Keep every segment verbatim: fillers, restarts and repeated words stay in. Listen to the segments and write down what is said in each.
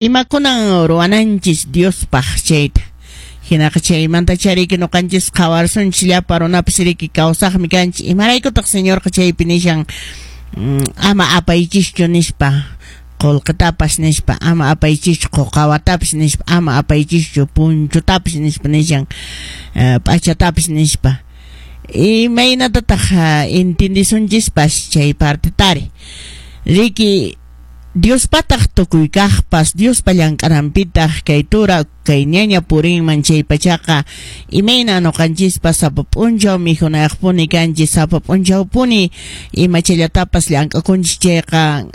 Imakunan ruwananchis Diospaq chayta. Hinaqa chaymanta chariki ñuqanchis qhawarsunchis llapa runapas riki kawsaqmi kanchis. Imaraykutaq Señorqa chaypi nishan ama apaychischu nispa, qullqitapas nispa, ama apaychischu quqawatapas nispa, ama apaychischu punchutapas nispa nishan, p'achatapas nispa. Imaynatataq entiendisunchispas chay partetari. Riki Diospataq tukuy kaqpas, Diospa llank'ananpitaq kay tura kay ñaña purinman chay pachaqa imayna ñuqanchispas sapa p'unchaw mikhunayaqpuni kanchis, sapa p'unchawpuni imachallatapas llank'akunchis chayqa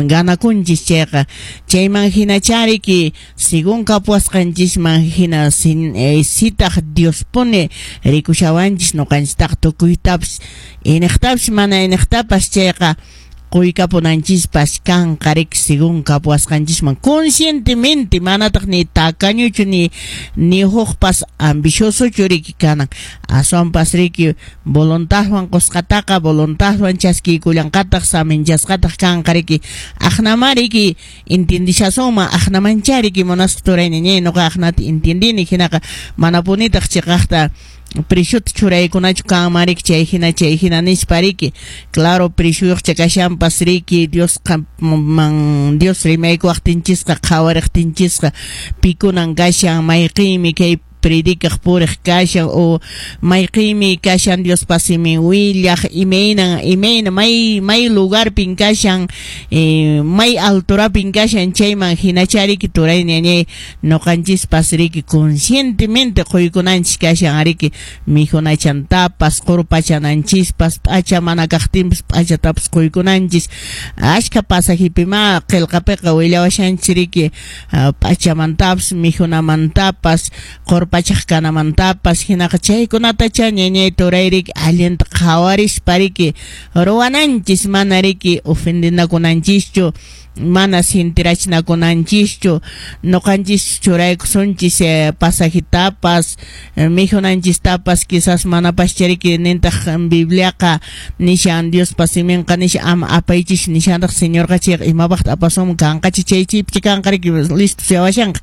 ganakunchis chayqa chayman hinachá riki según kapuwasqanchisman hina sitaq Diospuni rikushawanchis ñuqanchistaq tukuytapas iniqtapas mana iniqtapas chayqa quykapunanchispas kanqa riki según kapuwasqanchisman conscientemente manataq ni tacañuchu ni ni hukpas ambiciosochu riki kanan aswanpas riki voluntadwan qusqataqa voluntadwan chaskiykullanqataq saminchasqataq kanqa riki aqnama riki entiendishasunman aqnamancha riki munasqa turayni ñay nuqa aqnata entiendini hinaqa manapunitaq chiqaqta preciota churaykunachu kanman riki chay hina chay hina nispa riki claro precioyuqcha kashanpas riki Diosqa man Dios rimaykuwaqtinchisqa qhawariqtinchisqa pikunan kashan mayqinmi kay predicaq puriq kashan o mayqinmi kashan Diospa simin willaq imaynan imayna may may lugarpin kashan eh, may alturapin kashan chayman hinacha riki turayni ñañay ñuqanchispas riki conscientemente quykunanchis kashan riki mikhunachantapas qurpachananchispas p'acha mana kaqtinpas p'achatapas quykunanchis ashka pasajipima qillqapiqa willawashanchis riki p'achamantapas mikhunamantapas qurpachaq kanamantapas hinaqa chaykunatacha ñañay turay riki allinta qhawarispa riki ruwananchis mana riki ofendinakunanchischu mana sintirachinakunanchischu ñuqanchis churaykusunchis eh, pasajitapas eh, mikhunanchistapas quizás manapascha riki nintaq Bibliaqa nishan Diospa siminqa nishan ama apaychis nishantaq Señorqa chayqa imapaqta apasunman kanqachi chay chaypicha kanqa riki listo suyawashanqa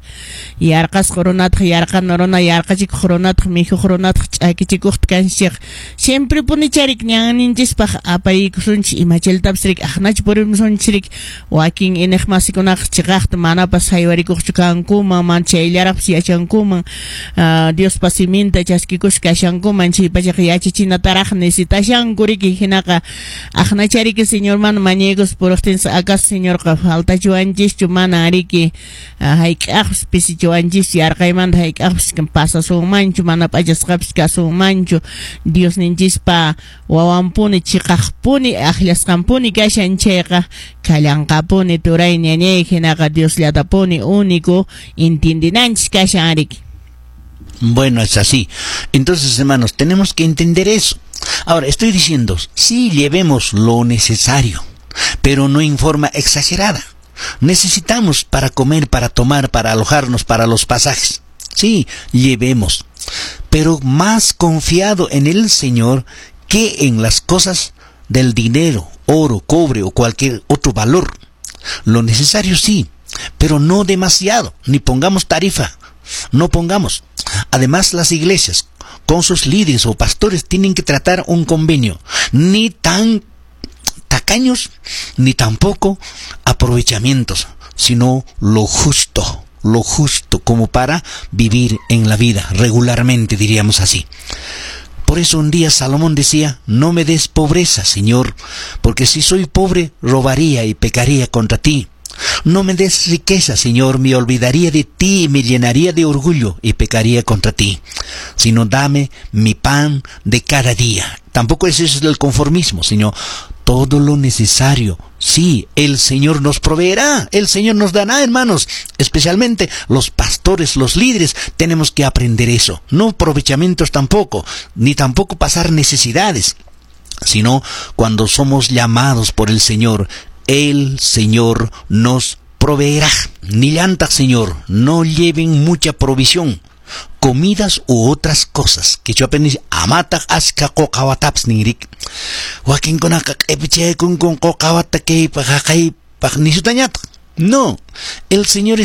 yarqasqa runataq yarqana runa yarqachikuq runataq mikhuq runataq ch'akichikuqta kanchis chayqa siempre punicha riki ñanninchispaq apaykusunchis imachallatapas riki aqnachu purimusunchis riki wakin iniqmasikunaqa chiqaqta manapas haywarikuqchu kankuman mana chayllaraqpas yachankuman uh, Diospa siminta chaskikusqa kashankuman chay pachaqa yachachinataraq necesitashanku riki hinaqa aqnacha riki Señorman mañaykus puriqtinchis acaso Señorqa faltachiwanchischu mana riki uh, hayk'aqpas pisichiwanchischu yarqaymanta hayk'aqpas pasasunmanchu mana p'achasqapas kasunmanchu Diosninchispa wawanpuni chiqaqpuni aqllasqanpuni kashan chayqa kallanqapuni turay ñañay hinaqa Diosllatapuni único entiendinanchis kashan riki. Bueno, es así. Entonces, hermanos, tenemos que entender eso. Ahora, estoy diciendo, sí llevemos lo necesario, pero no en forma exagerada. Necesitamos para comer, para tomar, para alojarnos, para los pasajes. Sí, llevemos, pero más confiado en el Señor que en las cosas del dinero, oro, cobre o cualquier otro valor. Lo necesario sí, pero no demasiado, ni pongamos tarifa, no pongamos. Además, las iglesias, con sus líderes o pastores, tienen que tratar un convenio, ni tan tacaños, ni tampoco aprovechamientos, sino lo justo, lo justo como para vivir en la vida regularmente, diríamos así. Por eso un día Salomón decía, no me des pobreza, Señor, porque si soy pobre, robaría y pecaría contra ti. No me des riqueza, Señor, me olvidaría de ti y me llenaría de orgullo y pecaría contra ti. Sino dame mi pan de cada día. Tampoco ese es el conformismo, sino todo lo necesario. Sí, el Señor nos proveerá, el Señor nos dará, hermanos. Especialmente los pastores, los líderes, tenemos que aprender eso. No aprovechamientos tampoco, ni tampoco pasar necesidades, sino cuando somos llamados por el Señor, el Señor nos proveerá. Nillantaq, Señor, no lleven mucha provisión, comidas u otras cosas. Quechuapi nin amataq askha quqawatapas ninrik. Wakinkunaqa q'ipichaykunku quqawata kaypaq haqaypaq nishutañataq. No, el Señor está